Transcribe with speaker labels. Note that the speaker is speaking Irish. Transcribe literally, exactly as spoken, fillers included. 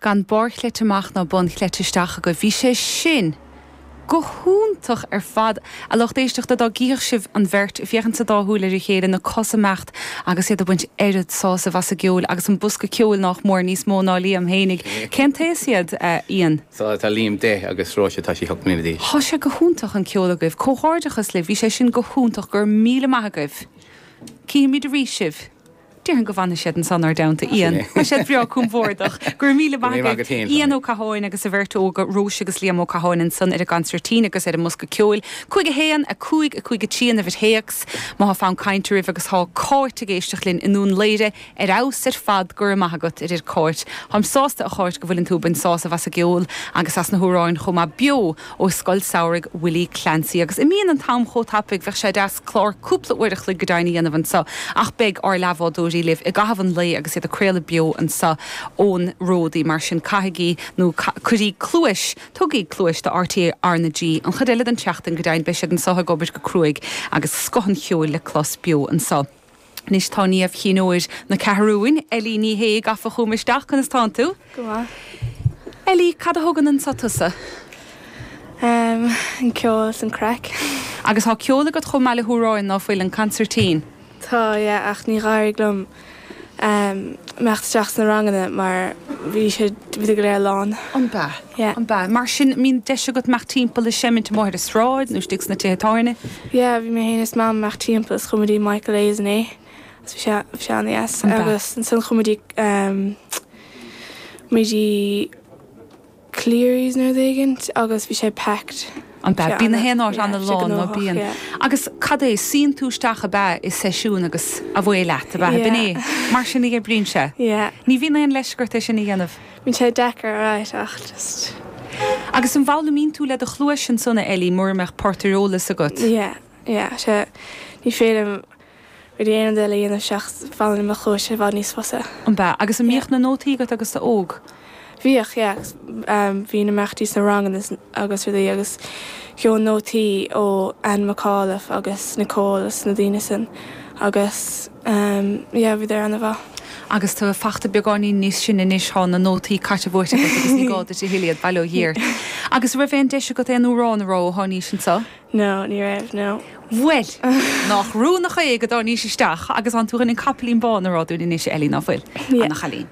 Speaker 1: Gan barrchleite amach ná bunchleite isteach agaibh. Bhí sé sin go hiontach ar fad. A lucht éisteachta dá gcífeadh sibh an bheirt ag féachaint sa dá shúil ar a chéile, na cosa ag imeacht agus iad ag baint oiread sásaimh as an gceol agus an bosca ceoil nách mór níos mó ná Liam fhéinig. Cén t-aos iad, Ian?
Speaker 2: So tá Liam deich agus Róise tá sí ocht mbliana d'aois.
Speaker 1: Tá sé go hiontach an ceol agaibh. Comhghairdeachas libh, bhí sé sin go hiontach, go raibh míle maith agaibh. Cífimid arís sibh. Déarfainn go bhfanfaidh siad ansan ár dteannta, Ian. Tá siad breá compordach. Go raibh míle maith agaibh. Ian Ó Catháin agus a bheirt óga, Róise agus Liam Ó Catháin ansan ar an gconsairtín agus ar an mbosca ceoil. Cúig a haon, a cúig, a cúig a trí an uimhir théacs. Má thá fonn cainte oraibh agus thá Cáit ag éisteacht linn i nDún Laoghaire, ar fheabhas ar fad, go raibh maith agat, a deir Cáit. Táim sásta, a Cháit, go bhfuileann tú ag baint sásamh as an gceol agus as na hamhráin chomh maith beo ó Scoil Samhraidh Willie Clancy. Agus imíonn an t-am chomh tapaidh, bheadh sé deas clár cúpla uair a chloig go deimhin a dhéanamh anseo ach beidh ár leathbhádóirí libh i gcaitheamh an lae agus iad ag craoladh beo anseo ón Ródaí. Mar sin caithigí nó cuirí cluais, tugaí cluais do RTÉ R na G. An chuid eile den tseachtain go deimhin beidh siad anseo ag obair go cruaidh agus scoth an cheoil le clos beo anseo. Anois tá Niamh Chinn Óir na Ceathrún, Ellie Ní Shé, gafa chugam isteach, conas tánn tú?
Speaker 3: Go maith.
Speaker 1: Ellie, cad a thugann anseo tusa?
Speaker 3: Um, an ceol is an craic.
Speaker 1: Agus tá ceol agat chomh maith le hamhráin ná fuil an consairtín?
Speaker 3: Tá, yeah, ach níor éirigh liom um, imeacht isteach sna ranganna mar bhí sé bhí go léir lán.
Speaker 1: An bea?
Speaker 3: Yeah.
Speaker 1: An bea? Mar sin mbíonn deis agat imeacht timpeall ag seimint amuigh ar an sráid nó istigh sna tithe tábhairne?
Speaker 3: Yeah, bhí mé féin is mam imeacht timpeall is chuaigh muid i Michael A's inné. Agus bhí sé bhí sé an-deas.
Speaker 1: An bea?
Speaker 3: Agus ansin chuaigh muid i um, muid i Cleary's nó rud éigint agus bhí sé packed.
Speaker 1: An bea? Bíonn na haon áit
Speaker 3: Yeah,
Speaker 1: ana
Speaker 3: bhí sé
Speaker 1: lán ná
Speaker 3: gnóthach,
Speaker 1: bíonn.
Speaker 3: yeah.
Speaker 1: Agus cad é, suíonn tú isteach ab ea i seisiún agus away leat, ab ea? B'in é.
Speaker 3: Yeah.
Speaker 1: Mar sin a oibríonn sé.
Speaker 3: Yeah.
Speaker 1: Ní bhíonn aon leisce ort é sin a dhéanamh.
Speaker 3: Bíonn sé deacair alright ach just
Speaker 1: Agus an bhfoghlaimíonn tú le do chluais ansan a Ellie mura mbeadh port ar eolas agat.
Speaker 3: Yeah, yeah, sé ní féidir liom rudaí aon eile a dhéanamh seachas foghlaim mo chluais i bhfad níos fusa.
Speaker 1: An bea? Agus an
Speaker 3: Yeah.
Speaker 1: mbíodh na nótaí agat agus tú óg?
Speaker 3: Bhíodh, yeah, agus, um, bhí na imeachtaí sna ranganna agus rudaí agus gheobhainn nótaí ó Anne McAuliffe agus Nicole agus na daoine sin agus um, yeah, bhíodar an-mhaith.
Speaker 1: Agus tú fachta beagáinín níos sine anois thá na nótaí caite buaite agat agus ní gá duit a thuilleadh bail ó Dhia ort. Agus raibh aon deis agat aon amhrán a rá ó tháinís anseo?
Speaker 3: No, ní raibh, no.
Speaker 1: Bhuel, nach rún é go dtáinís isteach agus an tú an capaillín bán a rá dúinn anois Ellie ná fuil
Speaker 3: Yeah.
Speaker 1: Ana chailín.